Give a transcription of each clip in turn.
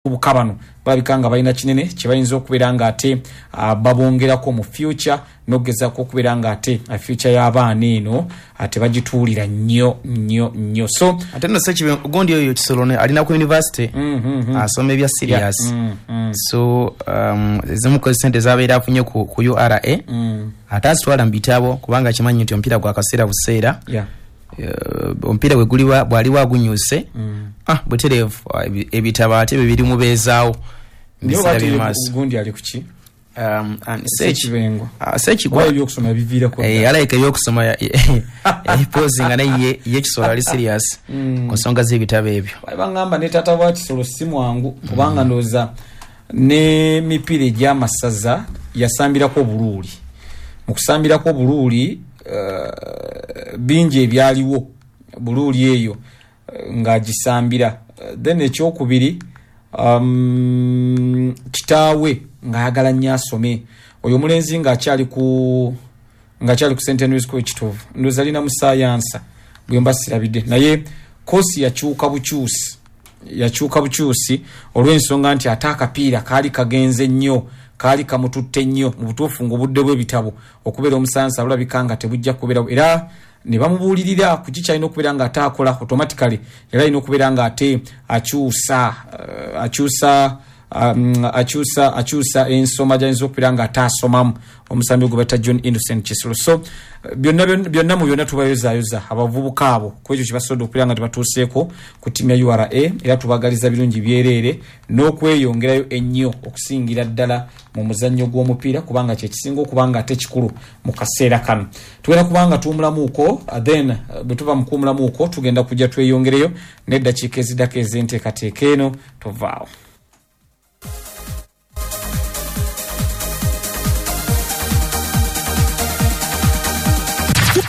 Abavubuka bano balabika nga balina kinene kye bayinza okubeera nga ate babongerako mu future, n'okugezaako okubeera nga ate future y'abaana eno tebagituulira nnyo nnyo nnyo. So Ate nno Ssekibi gundi oyo Kisolo alina ku university asoma ebya serious. So ezimu ku sente zabeera afunye ku URA ate azitwala mu bitabo, kubanga akimanyi nti omupiira gwa kaseera buseera. Omupiira bwe guliwa bw'aliwa agunyuuse, butereevu ebitabo ate bye birimubeezaawo mu biseera by'emaaso. Gundi ali kuki? Ssekibengo. Ssekigwa ebyokusoma biviirako. Alayika ebyokusoma yayipozinga, naye ye Kisolo ali serious ku nsonga z'ebitabo ebyo. Bangamba ne taata wa Kisolo si mwangu, kubanga ndowooza n'emipiira egy'amasaza yasambirako obuluuli. Mu kusambirako obuluuli, bingi ebyaliwo buluuli eyo ng'agisambira. Then ekyokubiri, kitaawe ng'ayagala nnyo asome. Oyo omulenzi ng'akyali ku St Henry's School Kitovu, ndowooza alina mu sayansa bwe mba sirabidde, naye koosi yakyuka bukyusi olw'ensonga nti ate akapiira kaali kagenze nnyo, kaali kamututte nnyo. Mu butuufu ng'obudde bw'ebitabo okubeera omusansa bulabika nga tebujja kubeerawo, era ne bamubuulirira ku ki kyalina okubeera nga ate akola. Automatically era alina okubeera nga ate akyusa ensoma gy'ayinza okubeera nga ate asomamu, omusambi gwe bayita John Innocent Kisolo. So byonna mu byonna tubayozaayoza abavubuka abo ku ekyo kye basobodde okubeera nga tebatuuseeko ku ttiimu ya URA, era tubagaliza birungi byereere n'okweyongerayo ennyo okusingira ddala mu muzannyo gw'omupiira, kubanga kye kisinga okuba nga ate kikulu mu kaseera kano. Tugenda kubanga tuwumulamuuko, then bwe tuva mu kuwumulamuuko tugenda kujja tweyongereyo n'eddakiika eziddako ez'enteekateeka eno. Tovaawo.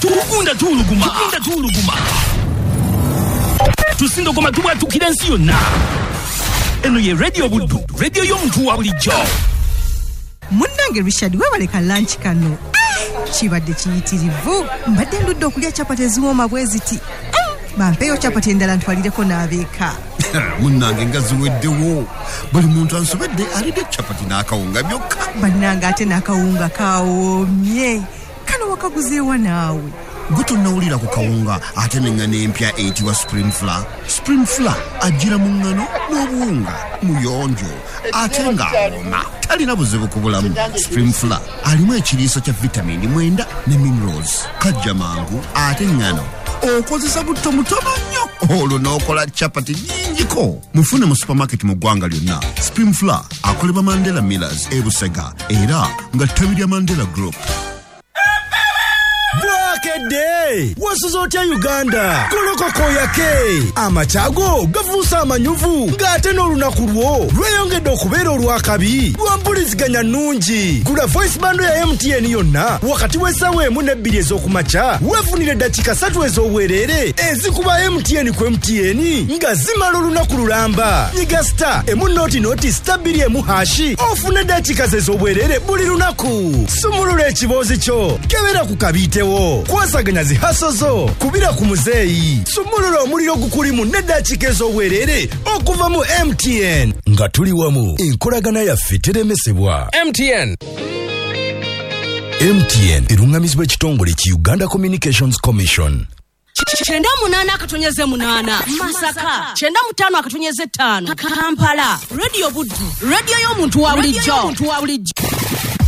Tugunda tuwuluguma, tusindogoma tubwatukira ensi yonna. Eno ye Radio Buddu, radio y'omuntu wa bulijjo. Munnange Richard, weebaleka lunch kano. Kibadde kiyitirivu. Mbadde ndudde okulya chapati eziwooma bwe ziti. Bampeeyo chapati endala ntwalireko n'abeeka. Munnange nga ziweddewo. Buli muntu ansobedde alidde chapati n'akawunga byokka. Bannange ate n'akawunga kawoomye. Kano wakaguzeewa naawe? Gwe tonnawulira ku kawunga ate n'eŋŋano empya eyitibwa Spring Flour. Spring Flour ajjira mu ŋŋano n'obuwunga, muyonjo ate ng'awooma, talina buzibu ku bulamu. Spring Flour alimu ekiriisa kya vitamini 9 ne minerals, kajja mangu ate ŋŋano okozesa butto mutono nnyo, olwo n'okola chapati nnyingiko. Mufune mu supermarket mu ggwanga lyonna. Spring Flour akolebwa Mandela Millers e Busega, era nga ttabi lya Mandela Group. Bwakedde wasuze otya Uganda? Golokoko yake amakyago gafuuse amanyuvu, ng'ate n'olunaku lwo lweyongedde okubeera olwakabi lwa mpuliziganya nnungi. Gula voice bando ya MTN yonna wakati w'essaawa 1 ne 2 ez'okumakya, weefunire eddakiika 3 ez'obwereere ezikuba MTN ku MTN nga zimala olunaku lulamba. Nyiga star emu noti noti star 2 emu hashi ofune eddakiika ze ez'obwereere buli lunaku. Sumulula ekiboozi kyo, kebera ku kabiitewo, kwasaganya zihaso zo, kubira ku muzeeyi, sumulula omuliro gukulimu n'eddakiika ez'obwereere okuva mu MTN. Nga tuli wamu, enkolagana yaffe teremesebwa. MTN. MTN erungamizibwa ekitongole ki Uganda Communications Commission. 98.8 Masaka, 95.5 Kampala. Radio Buddu, radio y'omuntu wa bulijjo.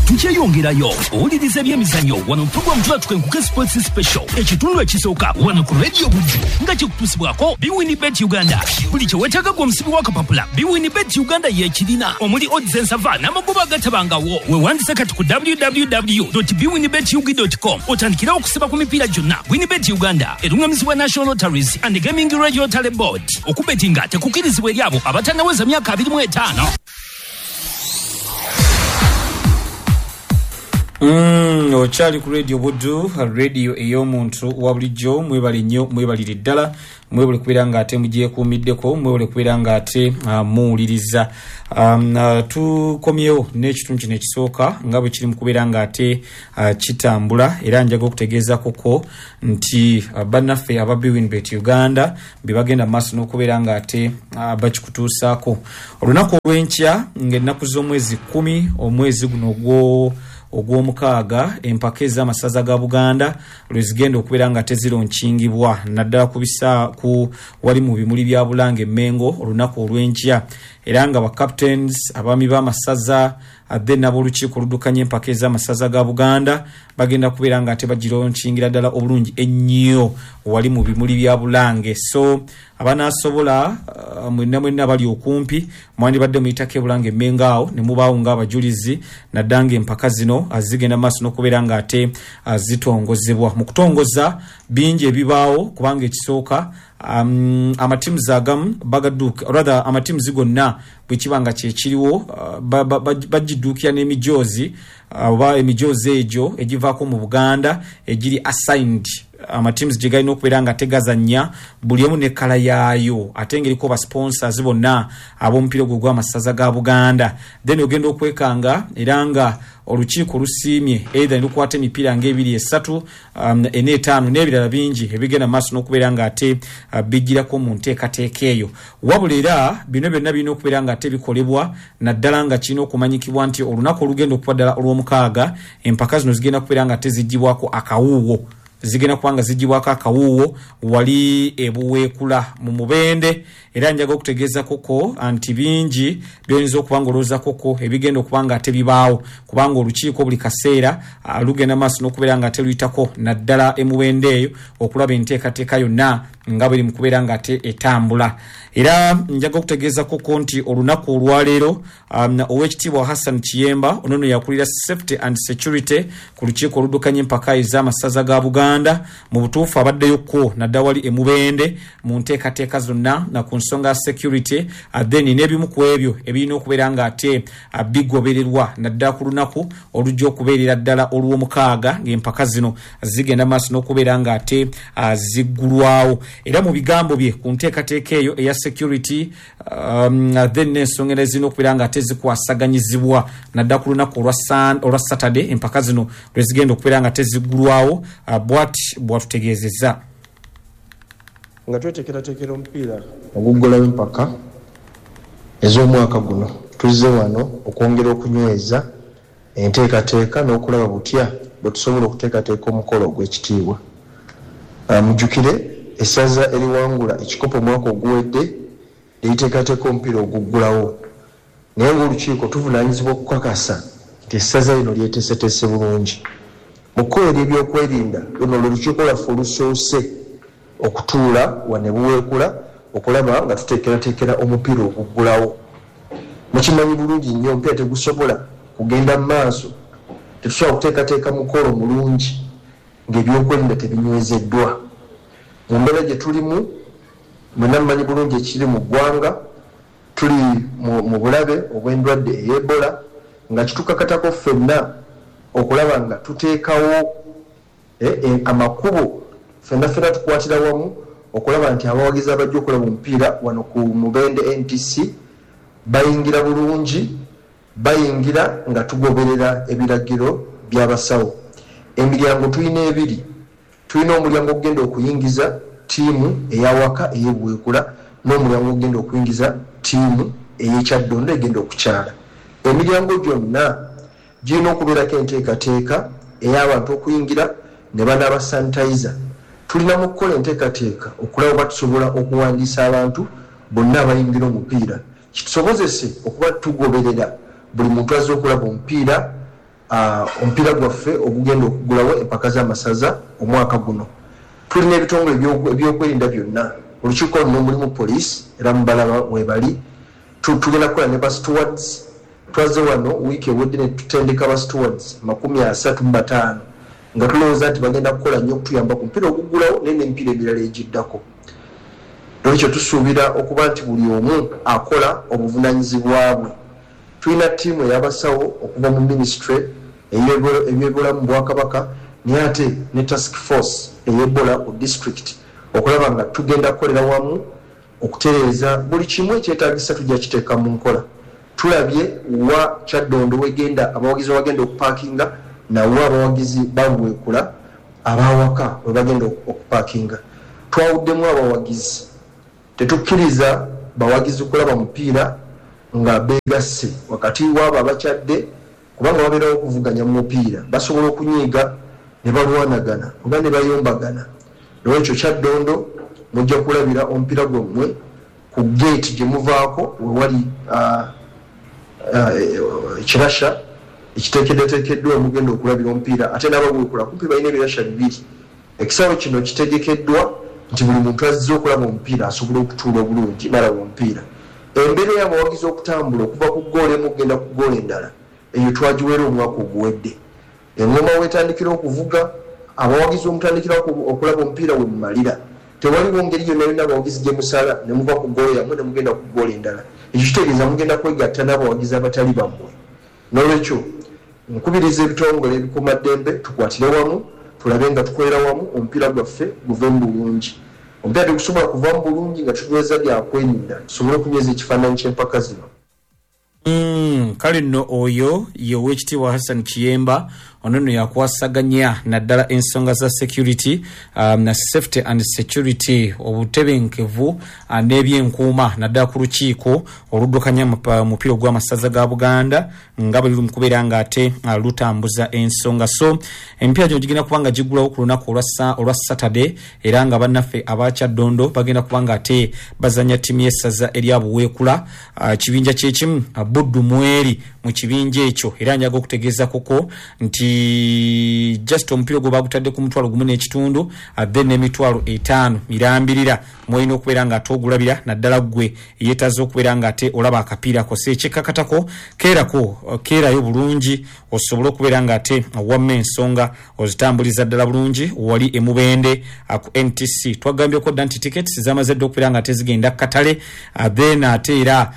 Tukyeyongerayo owuliriza ebyemizannyo wano program tulatuka enkuke sports special ekitundu ekisooka wano ku Radio Buddu nga kikutuusibwako Biwin Bet Uganda. Buli kye weetaaga gwe omusibi w'akapapula, Biwin Bet Uganda y'ekirina, omuli odds ensava n'amagoba agatabangawo. Weewandise kati ku www.biwinbetug.com otandikirawo okusiba ku mipiira gyonna. Winbet Uganda erungamizibwa National Lotteries and Gaming Regulatory Board. Okubetinga tekukkirizibwa eri abo abatannaweza myaka 25. Okyali ku Radio Buddu, radio ey'omuntu wa bulijjo. Mwebale nnyo, mwebalire ddala Mwebale kubeera nga ate mugyekuumiddeko, mwebale kubeera nga ate muwuliriza. Tukomyewo n'ekitundu kino ekisooka nga bwe kiri mu kubeera nga ate kitambula, era njaga okutegeezakoko nti bannaffe aba Bwinbet Uganda be bagenda mu maaso n'okubeera nga ate bakikutuusaako olunaku olw'enkya ng'ennaku z'omwezi 10 omwezi guno ogw'omukaaga. Empaka ez'amasaza ga Buganda lwe zigenda okubeera nga tezironkingibwa naddala ku bisa ku wali mu bimuli bya Bulange Mengo olunaku olw'enkya, era nga ba captains, abaami b'amasaza, then n'ab'olukiiko oluddukanya empaka ez'amasaza ga Buganda bagenda kubeera nga ate bagironkingira ddala obulungi ennyo wali mu bimuli bya Bulange. So abanaasobola, mwenna mwenna bali okumpi, mwandibadde muyitako ebulange Emmengo awo ne mubaawo ng'abajulizi, naddala ng'empaka zino zigenda maaso n'okubeera nga ate zitongozebwa. Mu kutongoza bingi ebibaawo, kubanga ekisooka amatiimu agamu bagadduuka, rather amatiimu gonna bwe kiba nga kyekiriwo bagidduukira n'emijoozi oba emijoozi egyo egivaako mu Buganda egiri assigned amatiimu gye galina okubeera nga tegazannya, buli emu ne kkala yaayo, ate ng'eriko ba sponsors bonna ab'omupiira ogwo gw'amasaza ga Buganda. Then ogenda okwekanga era nga olukiiko lusiimye either ne lukwata emipiira ng'ebiri, esatu, ena, etaano n'ebirala bingi ebigenda mu maaso n'okubeera nga ate bijjirako mu nteekateeka eyo. Wabula era bino byonna birina okubeera nga ate bikolebwa, naddala nga kirina okumanyikibwa nti olunaku olugenda okuba ddala olw'omukaaga, empaka zino zigenda kubeera nga teziggyibwako akawuuwo, zigenda kuba nga ziggyibwako akawuuwo wali ebuweekula mu Mubende. Era njaga okutegeeza koko nti bingi byoyinza okuba nga olowooza koko ebigenda okuba nga ate bibaawo, kubanga olukiiko buli kaseera lugenda maaso n'okubeera nga ate luyitako naddala emubende eyo okulaba enteekateeka yonna nga bweri mu kubeera nga ate etambula. Era njaga okutegeeza koko nti olunaku olwaleero Oweekitiibwa Hassan Kiyemba, ono nno yakulira Safety and Security ku lukiiko oluddukanya empaka ez'amasaza ga Buganda, mu butuufu abaddeyo kwo naddala wali emubende mu nteekateeka zonna na ku nsonga ya security, then n'ebimu ku ebyo ebirina okubeera nga ate bigobererwa naddala ku lunaku olujja okubeerera ddala olw'omukaaga ng'empaka zino zigenda maaso n'okubeera nga ate ziggulwawo. Era mu bigambo bye ku nteekateeka eyo eya security, then n'ensonga endala ezirina okubeera nga ate zikwasaganyizibwa naddala ku lunaku olwa Saturday empaka zino lwe zigenda okubeera nga teziggulwawo, bwati bwatutegeezezza. Nga twetekeratekera omupiira oguggulawo empaka ez'omwaka guno, tuzze wano okwongera okunyweza enteekateeka n'okulaba butya bwetusobola okuteekateeka omukolo ogw'ekitiibwa. Mujjukire essaza eriwangula ekikopo omwaka oguwedde lyeriteekateeka omupiira oguggulawo, naye ng'olukiiko tuvunaanyizibwa okukakasa nti essaza lino lyeteeseteese bulungi. Mu kkowe ery'ebyokwerinda, luno lwe lukiiko lwaffe olusoose okutuula wano e Buweekula okulaba nga tuteekerateekera omupiira oguggulawo. Mukimanyi bulungi nnyo omupiira tegusobola kugenda mu maaso, tetusobola kuteekateeka mukolo mulungi ng'ebyokwerinda tebinywezeddwa. Mu mbeera gye tulimu, mwenna mumanyi bulungi ekiri mu ggwanga, tuli mu bulabe obw'endwadde ey'Ebola nga kitukakatako ffenna okulaba nga tuteekawo amakubo ffenna ffenna tukwatira wamu okulaba nti abawagizi abajja okulaba omupiira wano ku Mubende NTC bayingira bulungi, bayingira nga tugoberera ebiragiro by'abasawo. Emiryango tulina ebiri, tulina omulyango ogugenda okuyingiza ttiimu ey'awaka ey'e Buweekula n'omulyango ogugenda okuyingiza ttiimu ey'e Kyaddondo egenda okukyala. Emiryango gyonna girina okubeerako enteekateeka ey'abantu okuyingira ne banaaba sanitizer. Tulina mu kukola enteekateeka okulaba oba tusobola okuwandiisa abantu bonna abayingira omupiira kitusobozese okuba tugoberera buli muntu azze okulaba omupiira omupiira gwaffe ogugenda okuggulawo empaka z'amasaza omwaka guno. Tulina ebitongole ebyokwerinda byonna, olukiiko luno mulimu poliisi era mubalaba weebali, tugenda kukola ne ba stewards. Twazze wano wiiki ewedde ne tutendeka ba stewards 35 nga tulowooza nti bagenda kukola nnyo okutuyamba ku mupiira oguggulawo naye n'emipiira emirala egiddako. Noolwekyo tusuubira okuba nti buli omu akola obuvunaanyizibwa bwe. Tulina ttiimu ey'abasawo okuva mu minisitule ey'ebyobulamu mu Bwakabaka naye ate ne task force ey'Ebola ku disitulikiti. okulaba nga tugenda kukolera wamu okutereeza buli kimu ekyetaagisa. Tujja kiteeka mu nkola. Tulabye wa Kyaddondo wegenda abawagizi webagenda okupaakinga, nawe abawagizi babuweekula abawaka webagenda okupaakinga. Twawuddemu abawagizi, tetukkiriza bawagizi kulaba mupiira nga beegasse wakati waabo abakyadde, kubanga wabeerawo okuvuganya mu mupiira, basobola okunyiiga ne balwanagana oba ne bayombagana. Nolwekyo Kyaddondo mujja kulabira omupiira gwammwe ku geeti gye muvaako wewali ekirasha ekiteekeddeteekeddwa omugenda okulabira omupiira. Ate n'ababuwekula kumpi balina ebirasha bibiri. Ekisaawe kino kitegekeddwa nti buli muntu azze okulaba omupiira asobola okutuula obulungi n'alaba omupiira. Embeera y'abawagizi okutambula okuva ku ggoolo emu okugenda ku ggoolo endala, eyo twagiwera omwaka oguwedde. Engoma wetandikira okuvuga, abawagizi omutandikira okulaba omupiira we mumalira. Tewaliwo ngeri yonna yonna abawagizi gye musala ne muva ku ggoolo yammwe ne mugenda ku ggoolo endala. Ekyo kitegeeza mugenda kwegatta n'abawagizi abatali bammwe. Nolwekyo nkubiriza ebitongole ebikuumaddembe tukwatire wamu, tulabe nga tukolera wamu omupiira gwaffe guve mu bulungi. Omupiira tegusobola kuva mu bulungi nga tunyweza byakwerinda, tusobole okunyweza ekifaananyi ky'empaka zino. Kale nno oyo ye Owekitiibwa Hassan Kiyemba. Ono nno yakwasaganya naddala ensonga za security, na safety and security, obutebenkevu n'ebyenkuuma naddala ku lukiiko oluddukanya omupiira ogw'amasaza ga Buganda nga bwe luli mu kubeera nga ate lutambuza ensonga. So emipiira gino gigenda kuba nga giggulawo ku lunaku olwa Saturday, era nga bannaffe aba Kyaddondo bagenda kuba nga ate bazanya ttiimu y'essaza erya Buweekula, kibinja kyekimu Buddu mweri mu kibinja ekyo. Era njaga okutegeeza kuko nti just omupiira ogwo bagutadde ku 1,500, then n'50,000 mirambirira mwolina okubeera nga ate ogulabira, naddala ggwe yeetaaze okubeera nga ate olaba akapiira ko. So ekyekakatako keerako, keerayo bulungi osobole okubeera nga ate wamma ensonga ozitambuliza ddala bulungi wali emubende ku NTC. Twagambyeko dda nti tickets zamaze dda okubeera nga ate zigenda katale, then ate era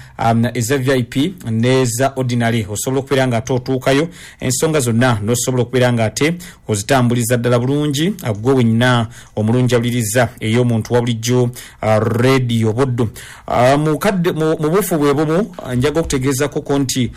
eza VIP n'eza ordinary osobola okubeera nga ate otuukayo ensonga zonna n'osobola okubeera nga ate ozitambuliza ddala bulungi, gwe wenna omulungi awuliriza ey'omuntu wa bulijjo Radio Buddu. Mu buufu bwe bumu njaga okutegeezakoko nti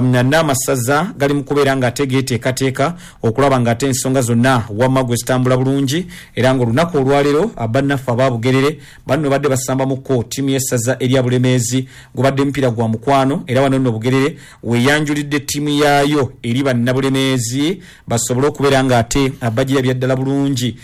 n'amasaza gali mu kubeera nga ate geeteekateeka okulaba nga ate ensonga zonna wamma gwe zitambula bulungi, era ng'olunaku olwaleero bannaffe aba Bugerere banno badde basambamuko ttiimu y'essaza erya Bulemeezi, gubadde mupiira gwa mukwano. Era wano nno Bugerere weeyanjulidde ttiimu yaayo eri bannabulemeezi basobole okubeera nga ate bagirabya ddala bulungi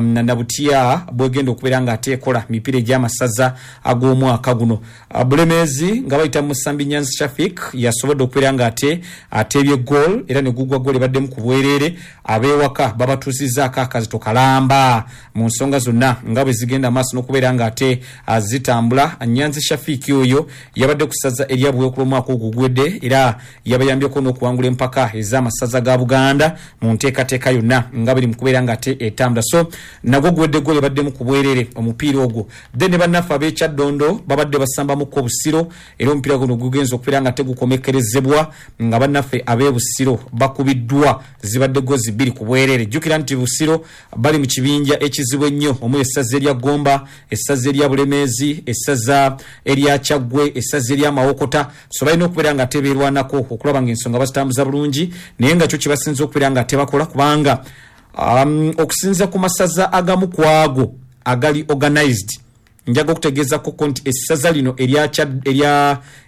nabutya bwegenda okubeera nga ate ekola mipiira egy'amasaza ag'omwaka guno. Bulemeezi nga bayita mu musambi Nyanzi Shafik yasobodde okubeera nga ate ateebye goal, era ne gugwa goal ebaddemu ku bwereere. Ab'ewaka babatuusizzaako akazito kalamba mu nsonga zonna nga bwe zigenda maaso n'okubeera nga ate zitambula. Nyanzi Shafik oyo yabadde ku ssaza erya Buweekula omwaka ogwo oguwedde, era yabayambyeko n'okuwangula empaka ez'amasaza ga Buganda mu nteekateeka yonna nga biri mu kubeera nga ate etambula. So nagwo guwedde goal ebaddemu ku bwereere omupiira ogwo. Then ne bannaffe ab'e Kyaddondo babadde basambamuko Busiro, era omupiira guno gugenze okubeera nga tegukomekkerezebwa nga bannaffe ab'e Busiro bakubiddwa, zibadde gozi 2 ku bwereere. Jjukira nti Busiro bali mu kibinja ekizibu ennyo omuli essaza erya Gomba, essaza erya Bulemeezi, essaza erya Kyaggwe, essaza erya Mawokota. So balina okubeera nga tebeerwanako okulaba ng'ensonga bazitambuza bulungi, naye nga kyo kye basinze okubeera nga tebakola, kubanga okusinza ku masaza agamu ku ago agali organized, njaga okutegeezakoko nti essaza lino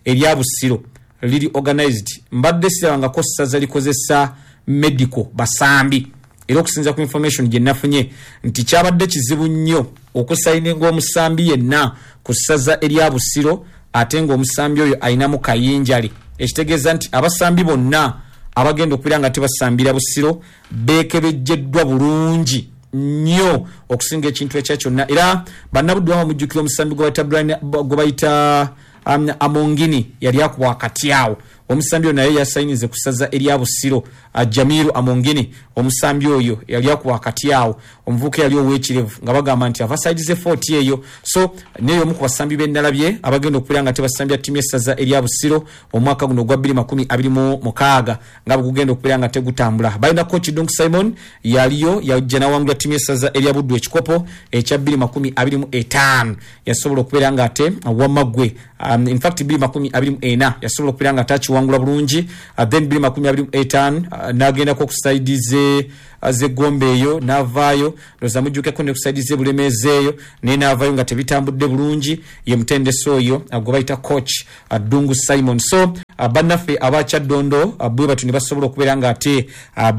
erya Busiro liri organized. Mbadde sirabangako ssaza likozesa medical basambi, era okusinza ku information gye nafunye nti kyabadde kizibu nnyo okusayininga omusambi yenna ku ssaza erya Busiro ate ng'omusambi oyo ayinamu kayinjale, ekitegeeza nti abasambi bonna abagenda okubeera nga tebasambira Busiro beekebejjeddwa bulungi nnyo okusinga ekintu ekya kyonna. Era bannabuddu bama mujjukira omusambi gwe bayita Amongini yali akuba wakati awo. Omusambi ono naye yasayinize ku ssaza erya Busiro, Jamiru Amongini. Omusambi oyo yali akuba wakati awo, omuvubuka yali ow'ekirevu nga bagamba nti ava side ze 40 eyo. So neyo omu ku basambi b'ennalabye abagenda okubeera nga tebasambya ttiimu y'essaza erya Busiro omwaka guno ogwa 2026 nga bwe gugenda okubeera nga tegutambula. Balina coach Dunk Simon, yaliyo yajja nawangula ttiimu y'essaza erya Buddu ekikopo ekya 2025, yasobola okubeera nga ate wamaggwe, in fact 2024 yasobola okubeera nga ate akiwangula bulungi. Then 2025 n'agendako ku side ze z'eggombe eyo n'avaayo. Ndowooza mujjukeko ne ku side z'ebulemeezi eyo, naye n'avaayo nga tebitambudde bulungi. Ye mutendesi oyo gwe bayita coach Ddungu Simon. So bannaffe abakyaddondo bwe batyo ne basobola okubeera nga ate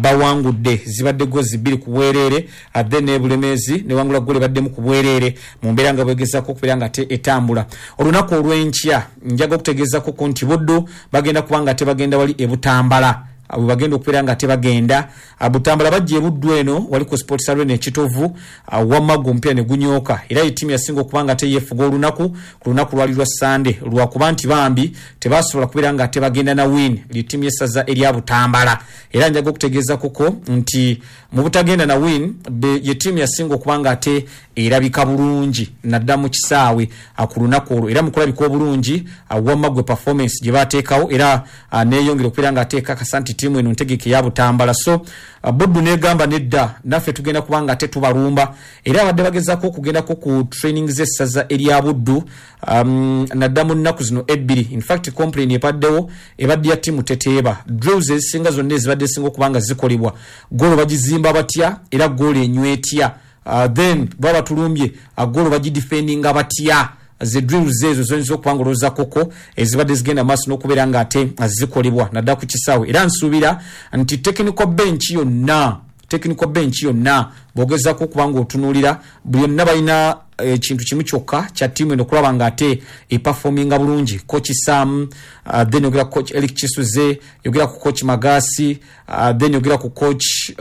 bawangudde, zibadde gozi 2 ku bwereere. Then n'ebulemeezi newangula ggoolo ebaddemu ku bwereere mu mbeera nga bwegezaako okubeera nga ate etambula. Olunaku olw'enkya njaga okutegeezako nti Buddu bagenda kuba nga tebagenda wali ebutambala, bwe bagenda okubeera nga tebagenda Butambala, bajja ebuddu eno wali ku Sports Arena Ekitovu, wamma omupiira ne gunyooka. Era ye ttiimu yasinga okuba nga teyeefuga olunaku ku lunaku lwali lwa Sande, lwakuba nti bambi tebasobola kubeera nga tebagenda na win lye ttiimu y'essaza erya Butambala. Era njaga okutegeeza kuko nti mu butagenda na win, ye ttiimu yasinga okuba nga ate erabika bulungi nadda mu kisaawe ku lunaku olwo. Era mu kulabika obulungi, wamma gwe performance gye bateekawo era neeyongera okubeera nga ate ekakasa nti ttiimu eno ntegeke ya Butambala. So Buddu negamba nedda, naffe tugenda kuba nga ate tubalumba. Era abadde bagezaako okugendako ku training z'essaza erya Buddu nadda mu nnaku zino ebbiri. In fact complain ebaddewo ebadde ya ttiimu teteeba. Drills ezisinga zonna ezibadde zisinga okuba nga zikolebwa, goolo bagizimba batya era goolo enywetya? Then baba batulumbye, goolo bagidefendinga batya? Ze drills ezo zoyinza okuba nga olowooza koko ezibadde zigenda maaso n'okubeera nga ate zikolebwa naddala ku kisaawe. Era nsuubira nti technical bench yonna bw'ogezaako okuba nga otunuulira byonna, balina ekintu kimu kyokka kya ttiimu eno okulaba nga ate eperforminga bulungi. Coach Sam, then yogera ku coach Eric Kisuze, yogera ku coach Magasi, then yogera ku coach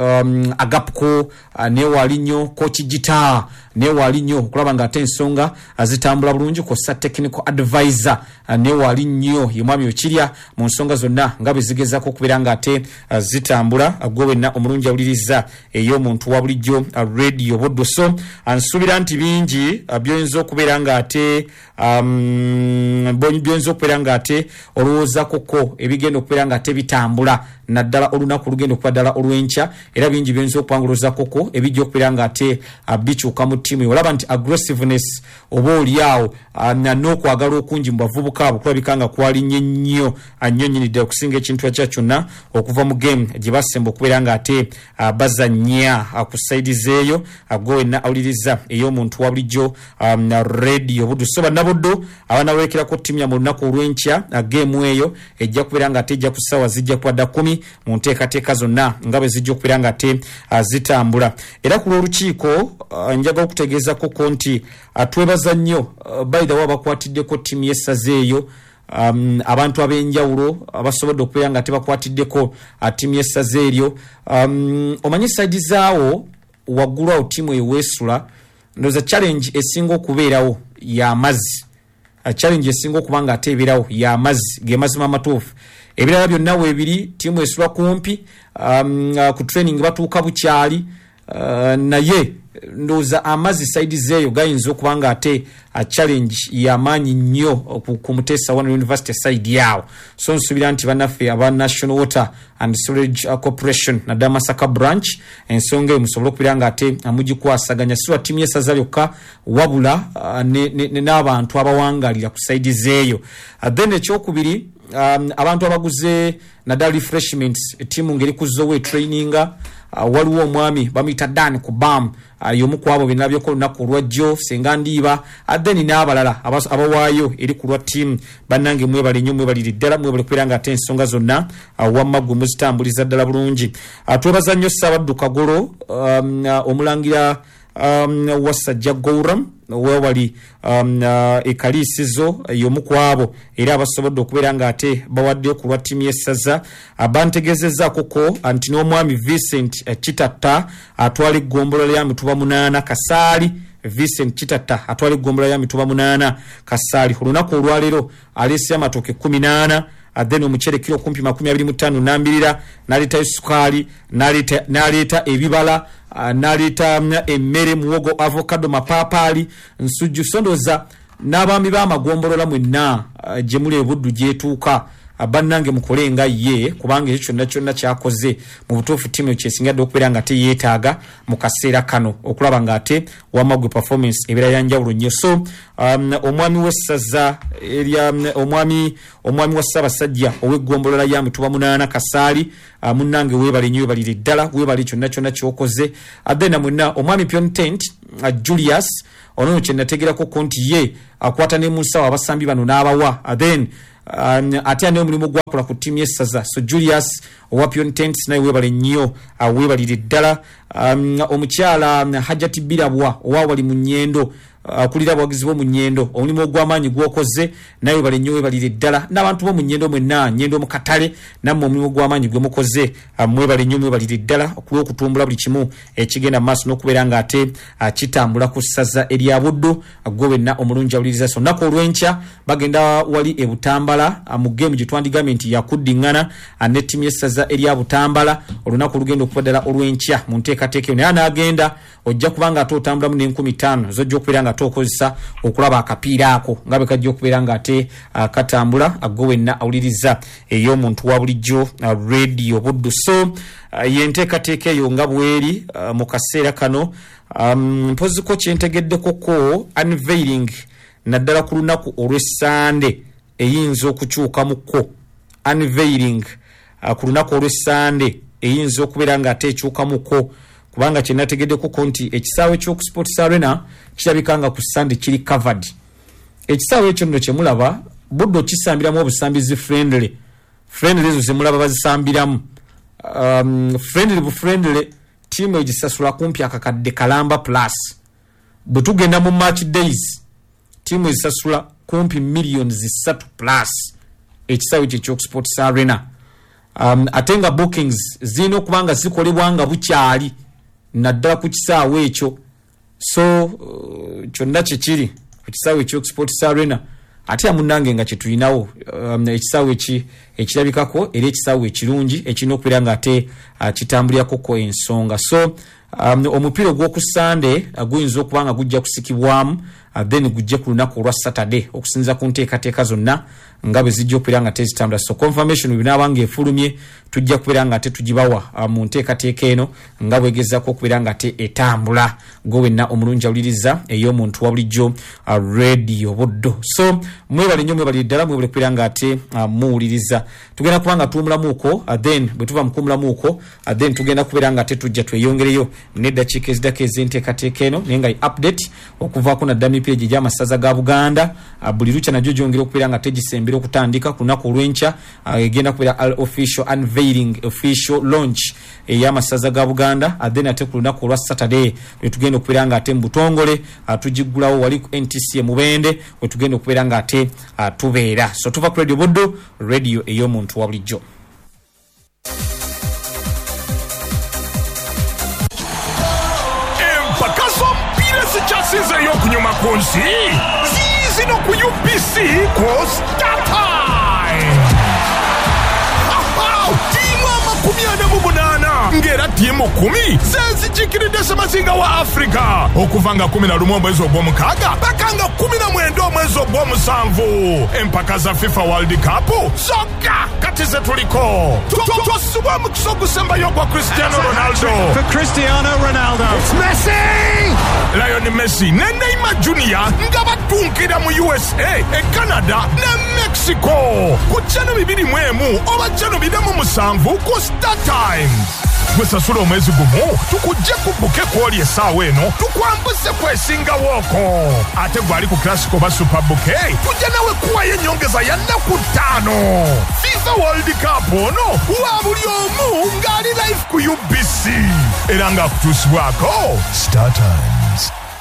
Agapko, naye waali nnyo coach Gita, naye waali nnyo okulaba nga ate ensonga zitambula bulungi, kw'ossa technical advisor, naye waali nnyo ye mwami Okirya mu nsonga zonna nga bwe zigezaako okubeera nga ate zitambula. Gwe wenna omulungi awuliriza ey'omuntu wa bulijjo Radio Buddu, so nsuubira nti bingi byoyinza okubeera nga ate byoyinza okubeera nga ate olowoozakoko ebigenda okubeera nga ate bitambula naddala olunaku olugenda okuba ddala olw'enkya. Era bingi byoyinza okuba nga olowoozakoko ebijja okubeera nga ate bikyuka mu ttiimu. Olaba nti aggressiveness oba oliawo n'okwagala okungi mu bavubuka abo kulabika nga kwalinnye nnyo nnyo nnyini ddala okusinga ekintu ekya kyonna okuva mu game gye basemba okubeera nga ate bazannya ku side zeeyo. Gwe wenna awuliriza ey'omuntu wa bulijjo Radio Buddu, so bannabuddu abanawerekerako ttiimu yammwe olunaku olw'enkya, game eyo ejja kubeera nga ate ejja ku ssaawa zijja kuba dda 10 mu nteekateeka zonna nga bwe zijja okubeera nga ate zitambula. Era ku lw'olukiiko njagala okutegeezakoko nti twebaza nnyo, by the way, abakwatiddeko ttiimu y'essaza eyo, abantu ab'enjawulo abasobodde okubeera nga tebakwatiddeko ttiimu y'essaza eryo. Omanyi side zaawo waggulu awo ttiimu eyo weesula, ndowooza challenge esinga okubeerawo y'amazzi. Challenge esinga okuba nga ate ebeerawo y'amazzi, ge mazima amatuufu. Ebirala byonna weebiri, ttiimu esula kumpi, ku training batuuka bukyali, naye ndowooza amazzi side zeeyo gayinza okuba nga ate challenge yamaanyi nnyo ku Muteesa One University side yaawo. So nsuubira nti bannaffe aba National Water and Sewerage Corporation naddala Masaka branch, ensonga eyo musobole okubeera nga ate mugikwasaganya, si lwa ttiimu y'essaza lyokka wabula n'abantu abawangalira ku side zeeyo. Then ekyokubiri, abantu abaguze naddala refreshments, ttiimu ngeri ku zowe traininga, waliwo omwami bamuyita Dan Kubam, y'omu ku abo benalabyeko olunaku olwajjo, senga ndiiba, then n'abalala abawaayo eri ku lwa ttiimu. Bannange mwebale nnyo, mwebalire ddala, mwebale kubeera nga ate ensonga zonna wamma gwe muzitambuliza ddala bulungi. Twebaza nnyo Ssaabaddu Kagolo, omulangira Wasajja Gouram wewali ekaliisizo, y'omu ku abo era abasobodde okubeera nga ate bawaddeyo ku lwa ttiimu y'essaza. Bantegeezezzaako ko nti n'omwami Vincent Kitatta atwala eggombolola lya Mituba 8 Kasaali, Vincent Kitatta atwala eggombolola lya Mituba 8 Kasaali, olunaku olwaleero aleese amatooke 14. Then omucere kilo kumpi 25 nambirira, n'aleetayo sukaali, n'aleeta ebibala, n'aleeta emmere, muwogo, avocado, mapaapaali, nsujju. So ndowooza n'abaami b'amagombolola mwenna gye muli ebuddu gyetuuka, bannange mukole nga ye, kubanga ekyo kyonna kyonna kyakoze mu butuufu ttiimu kyesinga dde okubeera nga teyeetaaga mu kaseera kano okulaba nga ate wamagwe performance ebeera ya njawulo nnyo. So omwami w'essaza erya omwami wa Ssaabasajja ow'eggombolola ya Mutuba 8 Kasaali, munnange weebale nnyo, weebalire ddala, weebale kyonna kyonna ky'okoze. Then mwenna omwami Piontent Julius ono kye nategerako nti ye akwata ne mu nsawo abasambi bano n'abawa, then ate ane omulimu gwakola ku ttiimu y'essaza. So Julius owa Piontent naye weebale nnyo, weebalire ddala. Omukyala Hajati Birabwa owa wali mu Nnyendo, akulira abawagizi b'omu Nnyendo, omulimu ogw'amaanyi gw'okoze naye weebale nnyo, weebalire ddala. N'abantu b'omu Nnyendo mwenna, Nnyendo mu katale, nammwe omulimu gw'amaanyi gwe mukoze, mwebale nnyo, mwebalire ddala okulw'okutumbula buli kimu ekigenda mu maaso n'okubeera ng'ate kitambula ku ssaza erya Buddu. Gwe wenna omulungi awuliriza, so olunaku olw'enkya bagenda wali e Butambala mu geemu gye twandigambye nti yakuddiŋŋana ne ttiimu y'essaza erya Butambala olunaku olugenda okuba ddala olw'enkya mu nteekateeka eyo. Naye anaagenda ojja kubanga ate otambulamu n'5,000 zojja okubeera nga ate okozesa okulaba akapiira ako nga bwe kajja okubeera nga ate katambula. Gwe wenna awuliriza ey'omuntu wa bulijjo Radio Buddu. So yenteekateeka eyo nga bweri mu kaseera kano. Mpoziko kyentegeddeko ko unveiling naddala ku lunaku olw'Essande eyinza okukyukamukko. Unveiling ku lunaku olw'Essande eyinza okubeera nga ate ekyukamukko, kubanga kye nategeddeko nti ekisaawe ky'oku Sports Arena kirabika nga ku Sande kiri covered. Ekisaawe ekyo nno kye mulaba Buddu kisambiramu obusambizi friendly ezo zemulaba bazisambiramu, friendly bu friendly ttiimu egisasula kumpi akakadde kalamba plus. Bwe tugenda mu match days ttiimu ezisasula kumpi millions 3 plus ekisaawe ekyo eky'oku Sports Arena. Ate nga bookings zirina okuba nga zikolebwa nga bukyali naddala ku kisaawe ekyo. So kyonna kyekiri ku kisaawe eky'oku Sports Arena. Ate munnange nga kyetulinawo ekisaawe ekirabikako era ekisaawe ekirungi ekirina okubeera nga ate kitambulirako ensonga. So omupiira ogw'oku Sande guyinza okuba nga gujja kusikibwamu, then gujje ku lunaku olwa Saturday okusinziira ku nteekateeka zonna nga bwe zijja okubeera nga tezitambula. So confirmation bwe nga efulumye tujja kubeera nga ate tugibawa mu nteekateeka eno nga bwegezaako okubeera nga ate etambula. Gwe wenna omulungi awuliriza ey'omuntu wa bulijjo Radio Buddu. So mwebale nnyo, mwebalire ddala, mwebale kubeera nga ate muwuliriza. Tugenda kuba nga tuwumulamuuko, then bwe tuva mu kuwumulamuuko, then tugenda kubeera nga ate tujja tweyongereyo n'eddakiika eziddako ez'enteekateeka eno, naye nga update okuvaako naddala mipiira egyo egy'amasaza ga Buganda. Buli lukya nagyo gyongera okubeera nga tegisembera okutandika ku lunaku olw'enkya. Egenda kubeera official unveiling, official launch ey'amasaza ga Buganda. Then ate ku lunaku olwa Saturday lwe tugenda okubeera nga ate mu butongole tugiggulawo wali ku NTC e Mubende we tugenda okubeera nga ate tubeera. So tuva ku Radio Buddu, radio ey'omuntu wa bulijjo. Empaka z'omupiira ezikyasinzeeyo okunyuma ku nsi ziizino ku UBC ku StarTimes. Ttiimu 48 ng'era ttiimu 10 zezikiikiridde Ssemazinga wa Africa okuva nga 11 omwezi ogw'omukaaga paka nga 19 omwezi ogw'omusanvu. Empaka za FIFA World Cup zokka kati ze tuliko. Tosubwa omukisa ogusembayo ogwa Cristiano Ronaldo. For Cristiano Ronaldo. It's Messi! Lionel Messi ne Neymar Jr nga batunkira mu USA, e Canada ne Mexico ku channel 21 oba channel 47 ku StarTimes. Gwe sasula omwezi gumu tukujje ku buke kwoli essaawa eno tukwambuze kwesingawooko. Ate gwali ku Classic oba Super Bouquet tujja nawe kuwayo ennyongeza ya nnaku 5. FIFA World Cup ono wa buli omu ng'ali live ku UBC era ng'akutuusibwako StarTimes.